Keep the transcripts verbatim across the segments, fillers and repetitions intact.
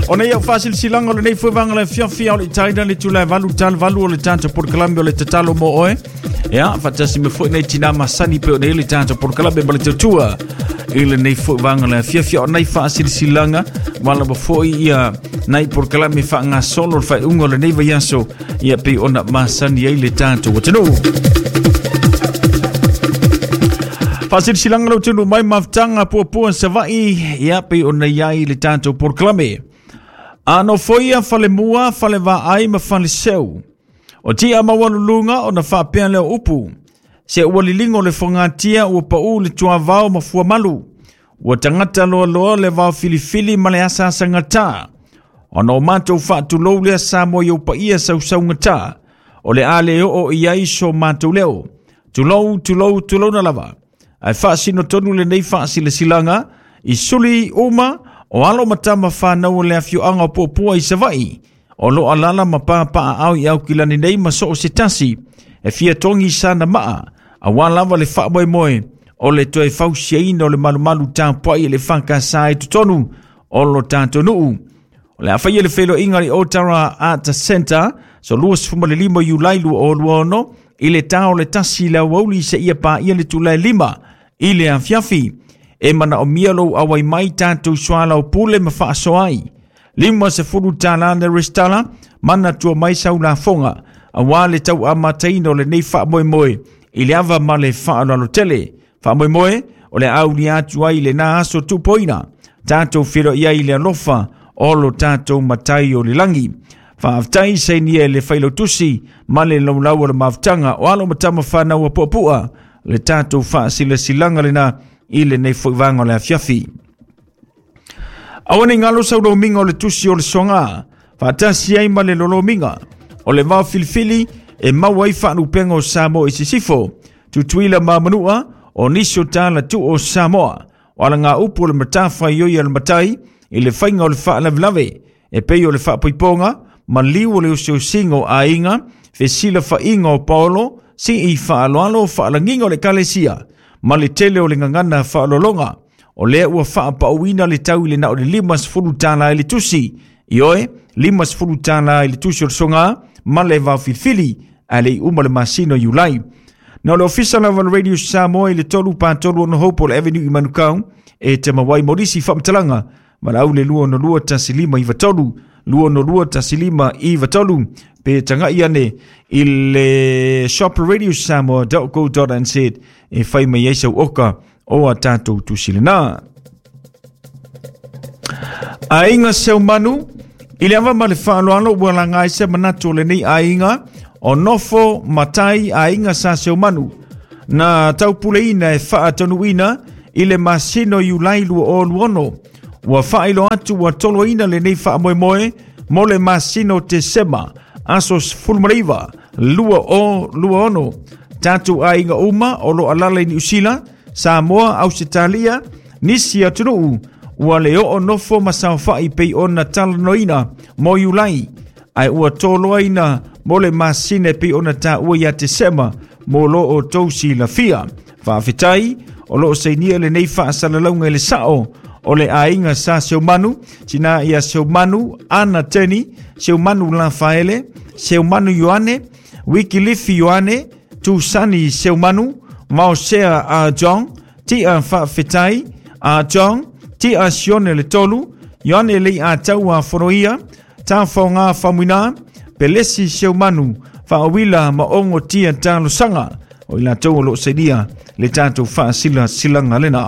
O nei au faasilasilaga o lenei foi vaega le afiafi a o le itaina le itula e valu tala valu o le tatou polokalame o le tatalo mo oe. Ia, faatasi mai foi nei tinā masani pei ona i ai le tatou polokalame ma le tautua i lenei foi vaega le afiafi. O nai faasilasilaga ua lava foi ia nai polokalame faagasolo le faaiuga o lenei vaiaso, ia pei ona masani ai le tatou atunuu. Faasilasilaga lau tunu mai mafutaga puapua Savaii, ia pei ona i ai le tatou polokalame. A nofoia falemua, falevaai ma faleseu. O tia maualuluga ona faapea lea o upu. Se ua liligo le fogatia ua pau le tuavao ma fuamalu. Ua tagata loaloa le vao filifili ma le asaasagata. Ona o matou faatulou lea Samoa i ou paia sausaugata. O le a le oo i ai so matou leo. Tulou, tulou, tulouna lava. Ae faasino tonu lenei faasilasilaga i suli uma o alo ma tama whanau o le afioaga o Puapua i Savaii. O lo alala ma pāpaa au i Aukilani nei ma so o se tasi. E fia togi sana maa. A wā lava le faamoemoe o le toe fausiaina o le malumalu tapuai e le whakasa i totonu o lo tatou nuu. O le a faia le feiloaiga i Otara Art Center so luasefulumalima Iulai lua o lua ono i le tā o le tasi i le aoauli seia paia le itula e lima i le afiafi. E manaomia lou auai mai tatou soalaupule ma faasoa ai. Lima sefulu tālā le resitala, manatua mai sau lafoga, auā le tauamataina o lenei faamoemoe i le ava ma le faaaloalo tele. Faamoemoe o le aulia atu ai lenā aso tupoina. Tatou feiloai ai i le alofa o lo tatou matai o le lagi. Faafetai sainia e le failautusi ma le laulau o le mafutaga o alo ma tama whanau a puapua le tatou faasilasilaga lenā i lenei foi vaega o le afiafi. Aua ne i galo sau lomiga o le tusi o le soga, faatasi ai ma le lolomiga o le vao filifili e maua ai faalupega o Samoa i sisifo, Tutuila ma Manua, o nisi o talatu'u o Samoa, o alagaupu o le matafaioi a le matai i le faiga o le faalavelave, e pei o le faapoipoga, maliu o le osiosiga o aiga, fesilafaiga o paolo, sii faaaloalo faalagiga o le ekalesia, ma le tele o le gagana faaaloaloga. O lea ua faapauina le tau i le na o le lima sefulu tālā i le tusi. Ioe, lima sefulu tālā i le tusi o le soga ma le vaofilifili, ae le i uma le masina o Iulai. Na o le ofisa lava o le Radio Samoa i le tolu pa tolu ono Hopewell Avenue i Manukau e te mawai mo nisi faamatalaga valaau le lua ono lua tasi lima iva tolu, lua ono lua tasi lima iva tolu, pe tagai ane i le shop radio samoa dot co dot n z e fai mai ai sau oka o a tatou tusi lenā. Aiga Seumanu, i le ava ma le faaaloalo ua laga ai se manatu o lenei aiga o nofo matai aiga sa Seumanu. Na taupuleina e faatanuuina i le masina o Iulai lua o lua ono. Ua faailoa atu ua toloina lenei faamoemoe mo le masina o Tesema, aso sefulu ma le iva, lua o lua ono. Tatou aiga uma o lo alala i Niu Sila, Samoa, Ausetalia, nisi atunuu, ua le oo nofo ma saofai pei ona talanoaina mo Iulai, ae ua toloaina mo le masina e pei ona taua ia Tesema mo lo outou silafia. Faafetai o loo sainia lenei faasalalauga i le sao o le aiga sa Seumanu, tina ia Seumanu Ana Teni, Seumanu Lafaele, Seumanu Ioane, Wikilifi Ioane, Tusani Seumanu, Maosea a John, Tia Faafetai a John, Tia Sione le tolu, Ioane lei a taua fonoia, Tafaoga Famuina, Pelesi Seumanu, Faawila ma ongo tia talosaga, o i latou o loo sainia le tatou faasilasilaga lenā.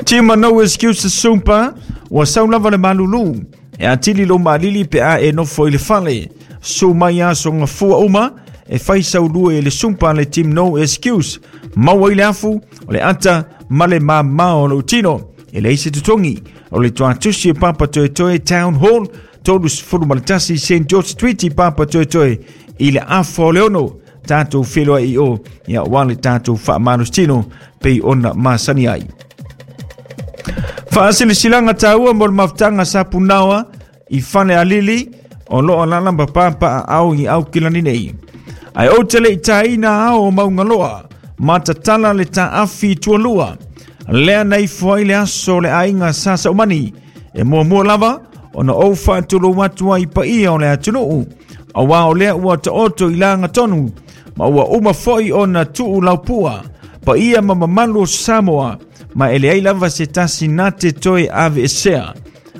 Tima No Excuses Sumpa, ua sau lava le malulu, e atili lou maalili pe a e nofo i le fale. Su mai aso gafua uma, e fai saulue i le sumpa le Team No Excuse. Maua i le afu, o le ata ma le mamā o lou tino. E leai se totogi, o le tuatusi e Papa Toetoe Town Hall, tolu sefulu ma le tasi Saint George Street i Papa Toetoe i le afa o le ono. Tatou feiloai i o, ia ua le tatou faamalositino pei ona masani ai. Faasilasilaga taua mo le mafutaga sa punaoa i fale alili o loo alala ma papaaao i Aukilani nei. Ae ou te le i tāina ao o Maungaloa, ma tatala le taafi i tualua. Lea na ifo ai le aso o le aiga sa Saumani, E muamua lava ona ou faatulou atu ai paia o le atunuu, auā o lea ua taoto i lagatonu, ma ua uma foi ona tuu laupua, paia ma mamalu o Samoa, ma e leai lava se tasi na te toe aveesea.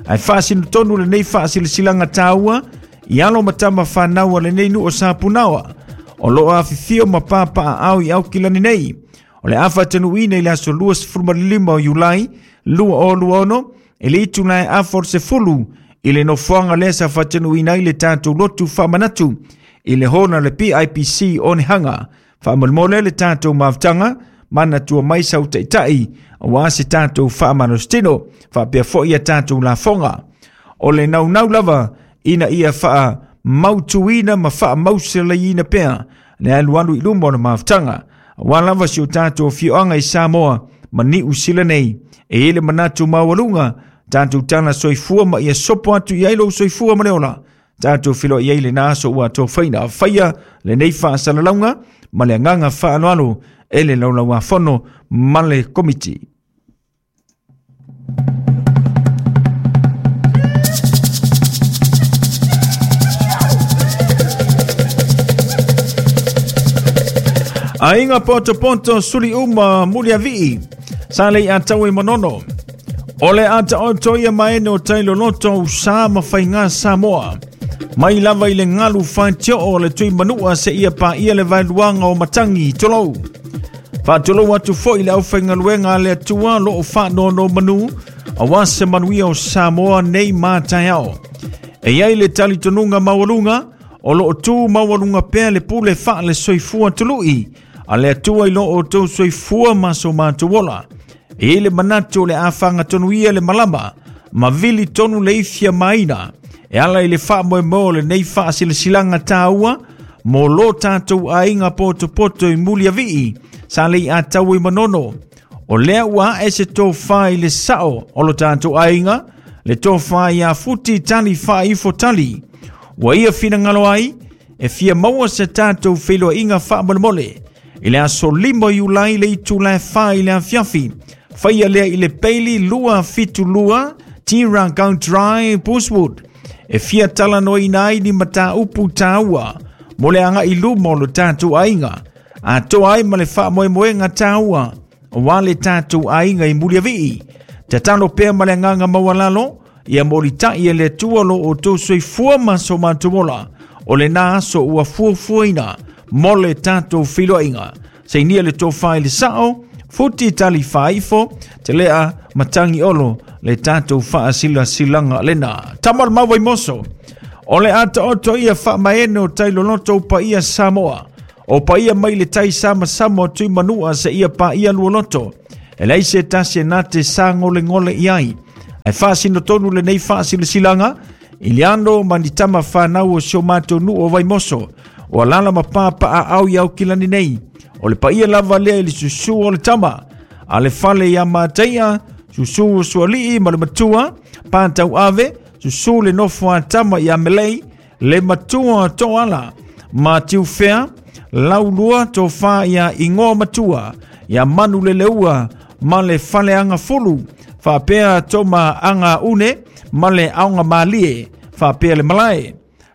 Ae faasinotonu lenei faasilasilaga taua i alo ma tama fanau a lenei nuu o Sapunaoa, o loo afifio ma papaaao i Aukilani nei. O le a faatanuuina i le aso luasefulu ma le lima o Iulai lua o lua ono, e le itula e afa o le sefulu i le nofoaga lea sa faatanuuina ai le tatou lotu faamanatu i le hona le P I P C o Nehaga. Faamolemole le tatou mafutaga, manatua mai sau taitai, auā se tatou faamalositino, faapea foi ia tatou lafoga. O le naunau lava ina ia faamautuina ma faamauselaiina pea le alualu i luma o le mafutaga, auā lava si o tatou afioaga i Samoa ma Niu Sila nei. E i le manatu maualuga, tatou tala soifua ma ia sopo atu i ai lou soifua ma le ola. Tatou feiloai ai lena aso ua tofaina faia lenei faasalalauga ma le agaga faaaloalo e le laulauafono ma le komiti. Aiga potopoto suli uma muliavii, sa lei atau e manono. O le ataoto ia maene o tailoloto usa ma faiga Samoa. Mai lava i le galu faitio o le tui manua se ia paia le vaeluaga o matangi tolou. Faatulou atu foi le aufaigaluega a le Atua loo faanonomanu, auā se manuia o Samoa nei ma taeao. E iai le talitonuga maualuga, o loo tu maualuga pea le pule faale soifua tului, a le Atua i loo outou soifua ma so matou ola. E i le manatu o le afagatonu ia le malama, ma vili tonu le ifia maina, e ala i le faamoemoe o lenei faasilasilaga taua, mo lo tatou aiga potopoto i Muliavii, sa lei atau i Manono. O lea ua ae se tofā i le sao o lo tatou aiga, le tofā ia futi tali faaifo tali. Ua ia finagalo ai, e fia maua se tatou feiloaiga faamolemole. I le aso lima Iulai le itula e fa i le afiafi, faia lea i le peili lua fitu lua, Tira Drive, Bushwood. E fia talanoaina ai ni mataupu taua, mo le agai luma o lo tatou aiga. Atoa ai ma le faamoemoega taua, auā le tatou aiga i Muliavii. Tatalo pea ma le agaga maualalo, ia molitai e le Atua lo outou soifua ma so matou ola. O lena aso ua fuafuaina mo le tatou feiloaiga. Sainia le tofā i le sao, futi tali faaifo, te lea matangi olo le tatou faasilasilaga lena. Tama o le mau Vaimoso, o le ataoto ia faamaene o tailoloto o paia Samoa. O paia mai le tai samasama o tui manua se ia paia lualoto. E leai se tasi e na te sagolegole i ai. Ae faasinotonu lenei faasilasilaga i le ano ma ni tama fanau o si o matou nuu o Vaimoso, o alala ma papaaao i Aukilani nei. O le paia lava lea i le susū o le tama, a le fale ia Mataia, susū o sualii ma le matua, pātau ave, susū le nofo a tama ia Melei, le matua toala, ma tiufea, laulua tofā ia ingoa matua, ia manu leleua, ma le fale aga fulu, faapea toma aga une, ma le aoga malie, faapea le malae.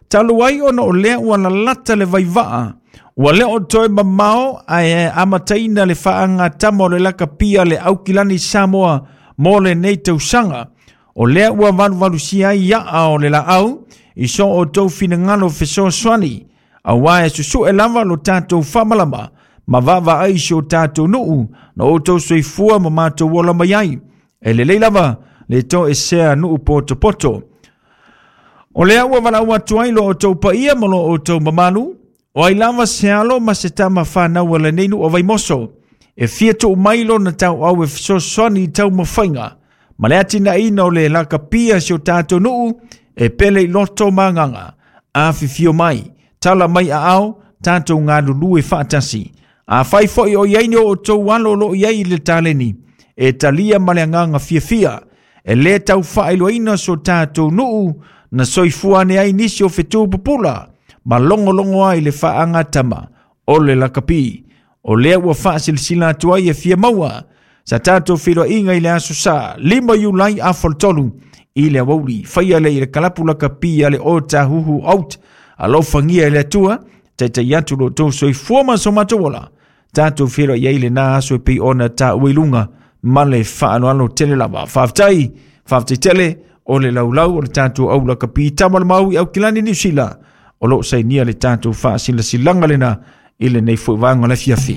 Talu ai ona o lea ua lalata le vaivaa, ua lea o toe mamao ae amataina le faagatama o le lakapia le Aukilani Samoa mo lenei tausaga. O lea ua valuvalusia ai iaa o le laau, i so outou finagalo fesoasoani, auā e susue lava lo tatou faamalama, ma vaavaai si o tatou nuu, na outou soifua ma matou ola mai ai. E lelei lava le toesea nuu potopoto. O lea ua valaau atu ai lo outou paia ma lo outou mamalu, o ai lava se alo ma se tama fanau a lenei nuu o Vaimoso, e fia tuu mai lona tauau e fesoasoani i taumafaiga, ma le atinaeina o le lakapia si o tatou nuu, e pele i loto ma agaga, afifio mai, tala mai aao, tatou galulue faatasi. Afai foi o iai ni o outou alo o loo iai i le taleni, e talia ma le agaga fiafia, e lē taufaailoaina so tatou nuu, na soifua ane ai nisi o fetu pupula, ma logologo ai le faagatama o le lakapi. O lea ua faasilasila atu ai e fia maua sa tatou feiloaiga i le aso sa lima Iulai afa o le tolu I le aoauli faia le i le kalapu lakapi a le Otahuhu Out. Alofagia e le Atua taitai atu lo outou soifua ma so matou ola. Tatou feiloai ai lena aso e pei ona taua i luga ma le faaaloalo tele lava. Faafetai, faafetai tele o le laulau o le tatou au lakapi tama le mau i Aukilani Niu Sila o loo sainia le tatou faasilasilaga lena i lenei foi vaega o le afiafi.